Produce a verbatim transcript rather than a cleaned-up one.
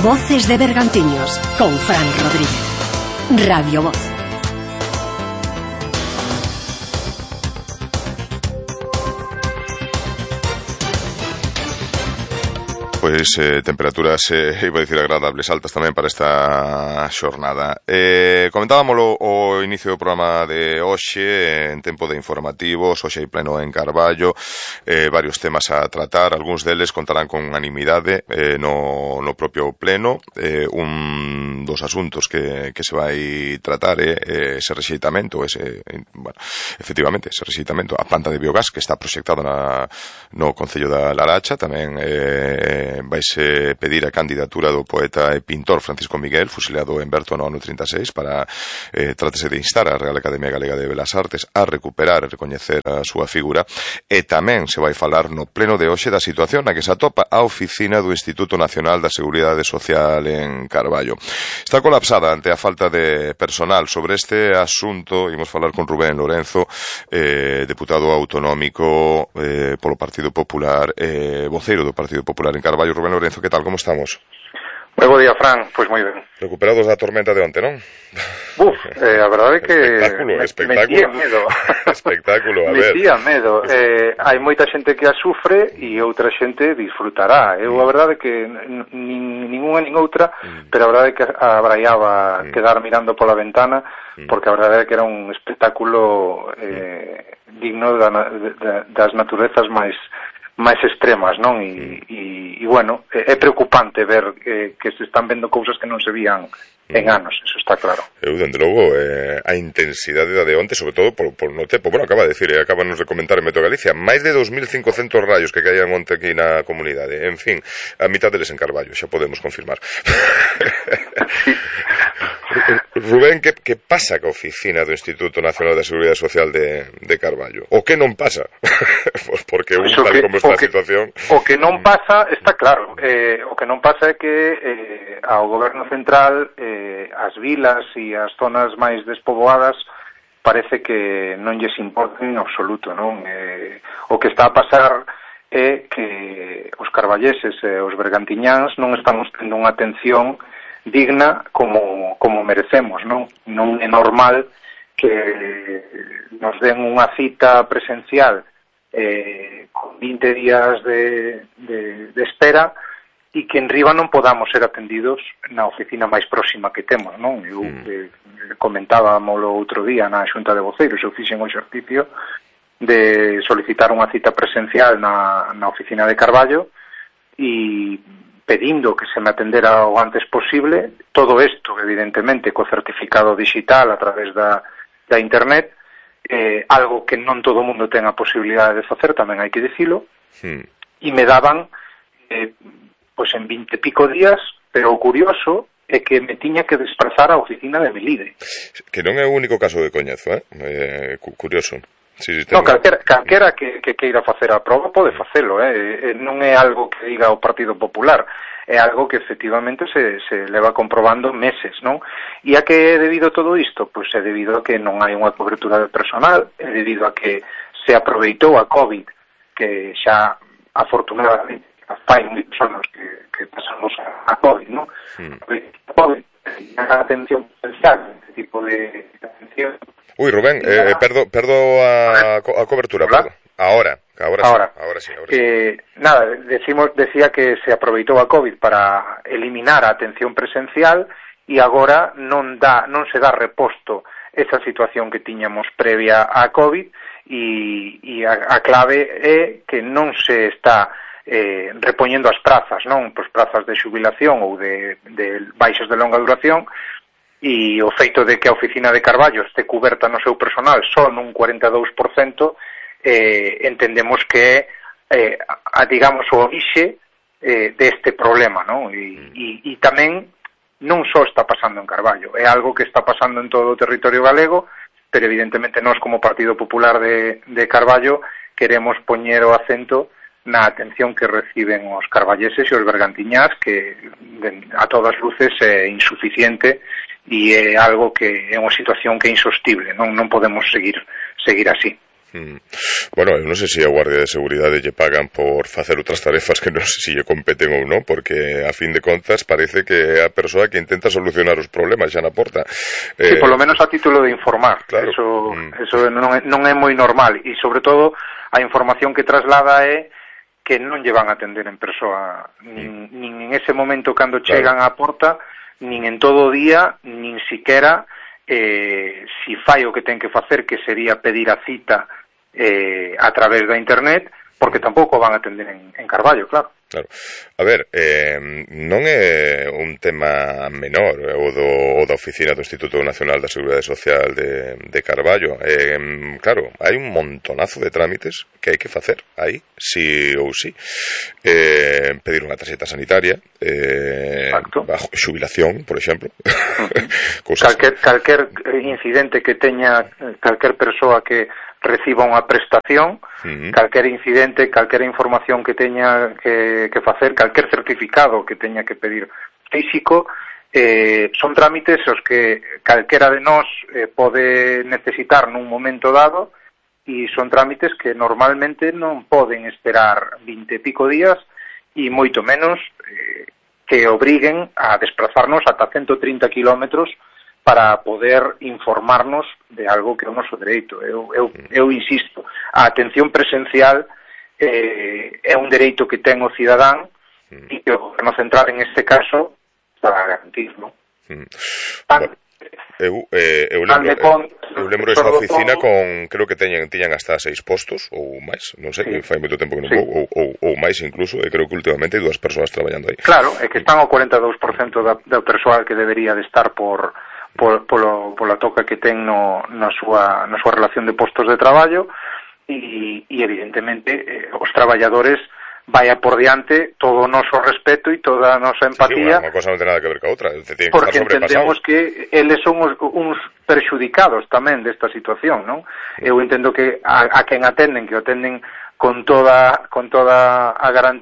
Voces de Bergantiños, con Fran Rodríguez. Radio Voz. Pois eh, temperaturas, eh, iba a dicir agradables, altas tamén para esta xornada. Eh, comentábamolo o inicio do programa de hoxe, en tempo de informativos, hoxe hai pleno en Carballo, eh, varios temas a tratar, algúns deles contarán con unanimidade eh, no, no propio pleno. Eh, un dos asuntos que, que se vai tratar é eh, ese rexeitamento, ese, bueno, efectivamente, ese rexeitamento, a planta de biogás que está proxectada na, no Concello da Laracha, tamén eh, vaise pedir a candidatura do poeta e pintor Francisco Miguel, fusilado en Berto no ano trinta e seis, para eh, trátese de instar a Real Academia Galega de Belas Artes a recuperar e recoñecer a súa figura. E tamén se vai falar no pleno de hoxe da situación na que se atopa a oficina do Instituto Nacional da Seguridade Social en Carballo. Está colapsada ante a falta de personal. Sobre este asunto imos falar con Rubén Lorenzo, eh, deputado autonómico eh, polo Partido Popular, eh, voceiro do Partido Popular en Carballo. Rubén Lorenzo, que tal, como estamos? Moi bo día, Fran, pois moi ben. Recuperados da tormenta de onte, non? Uf, eh, a verdade é que espectáculo, me, espectáculo. metía medo. Espectáculo, a ver. Metía medo. Eh, hai moita xente que a sufre e outra xente disfrutará. Eu a verdade é que nin ninguna nin outra, mm. pero a verdade é que abraiaba mm. quedar mirando pola ventana, mm. porque a verdade é que era un espectáculo eh, mm. digno da, da, das naturezas máis máis extremas, non? E, e, e bueno, é preocupante ver eh, que se están vendo cousas que non se vían en anos, eso está claro. Eu, dende logo, eh, a intensidade da de onte, sobre todo por, por no tempo, bueno, acaba de decir, eh, acabanos de comentar en Metro Galicia, máis de dos mil cincocentos rayos que caían onte aquí na comunidade, en fin, a mitad deles en Carballo, xa podemos confirmar. Sí. Rubén, que, que pasa ca oficina do Instituto Nacional da Seguridade Social de, de Carballo? O que non pasa? Porque un tal que, como está a situación... O que non pasa está claro. Eh, o que non pasa é que eh, ao Goberno Central eh, as vilas e as zonas máis despoboadas parece que non lles importa en absoluto, non? Eh, o que está a pasar é que os carballeses e os bergantiñáns non estamos tendo unha atención digna como, como merecemos, non? Non é normal que nos den unha cita presencial eh, con vinte días de, de, de espera e que en riba non podamos ser atendidos na oficina máis próxima que temos, non? Eu mm. eh, comentábamolo outro día na Xunta de Voceiros, eu fixen o exercicio de solicitar unha cita presencial na, na oficina de Carballo e pedindo que se me atendera o antes posible, todo isto, evidentemente, co certificado digital a través da, da internet, eh, algo que non todo o mundo ten a posibilidade de facer, tamén hai que dicilo, sí. E me daban, eh, pois en vinte e pico días, pero o curioso é que me tiña que desplazar á oficina de Melide. Que non é o único caso que coñezo, eh? eh curioso. Sí, sí, tengo... No, calquera, calquera que, que queira facer a proba pode facelo, eh? non é algo que diga o Partido Popular, é algo que efectivamente se, se leva comprobando meses, non? E a que é debido a todo isto? Pois é debido a que non hai unha cobertura de personal, é debido a que se aproveitou a COVID, que xa afortunadamente fai moitos anos que, que pasamos a COVID, non? Mm. A COVID, a atención potencial, este tipo de atención. Uy, Rubén, eh, perdo, perdo a, a cobertura, perdo. Ahora, ahora, ahora, sí, ahora sí. Ahora eh, sí. Nada, decimos, decía que se aproveitou a COVID para eliminar a atención presencial e agora non dá, non se dá reposto esa situación que tiñamos previa a COVID e, e a, a clave é que non se está eh, repoñendo as prazas, non? Pois prazas de xubilación ou de, de baixas de longa duración, e o feito de que a oficina de Carballo este cuberta no seu personal só nun cuarenta e dous por cento, eh, entendemos que é, eh, a, digamos, o orixe eh, deste problema, non? E, e, e tamén non só está pasando en Carballo, é algo que está pasando en todo o territorio galego, pero evidentemente nós como Partido Popular de, de Carballo queremos poñer o acento na atención que reciben os carballeses e os bergantiñás, que de, a todas luces é insuficiente e é algo que é unha situación que é insostible, non non podemos seguir seguir así. Mm. Bueno, eu non sei se a Guardia de Seguridade lle pagan por facer outras tarefas que non sei se lle competen ou non, porque a fin de contas parece que é a persoa que intenta solucionar os problemas xa na porta. Sí, eh, polo menos a título de informar. Claro. Eso, mm. eso non, é, non é moi normal, e sobre todo a información que traslada é que non lle van a atender en persoa, nin, mm. nin en ese momento cando chegan claro. á porta, nin en todo o día, nin siquera eh, si fai o que ten que facer, que sería pedir a cita Eh, a través da internet, porque tampouco van a atender en, en Carballo, claro. Claro. A ver, eh, non é un tema menor o, do, o da oficina do Instituto Nacional da Seguridade Social de, de Carballo. Eh, claro, hai un montonazo de trámites que hai que facer aí, sí ou sí. Eh, pedir unha tarxeta sanitaria, eh, bajo xubilación, por exemplo. Uh-huh. calquer, calquer incidente que teña calquer persoa que reciba unha prestación, uh-huh. calquer incidente, calquer información que teña que, que facer, calquer certificado que teña que pedir físico, eh, son trámites os que calquera de nós eh, pode necesitar nun momento dado, e son trámites que normalmente non poden esperar vinte e pico días, e moito menos eh, que obriguen a desplazarnos ata ciento trinta kilómetros para poder informarnos de algo que é o noso dereito. Eu, eu, eu insisto, a atención presencial eh, é un dereito que ten o cidadán e que o goberno central en este caso para garantir, non? Mm. Bueno, eu, eh, eu lembro, con, eu lembro esa oficina con, creo que teñan, teñan hasta seis postos ou máis, non sei, sí. fai moito tempo que non sí. vou, ou, ou, ou máis incluso, e creo que últimamente hai dúas persoas traballando aí. Claro, é que están o cuarenta e dous por cento da, da persoal que debería de estar por Por, polo, pola toca que ten no, na, súa, na súa relación de postos de traballo, e, e evidentemente eh, os traballadores vaya por diante todo o noso respeto e toda a nosa empatía. Sí, unha cosa non ten nada que ver ca outra, que porque entendemos que eles son os, uns perxudicados tamén desta situación, non? Eu entendo que a, a quen atenden, que o atenden con toda, con toda a garantía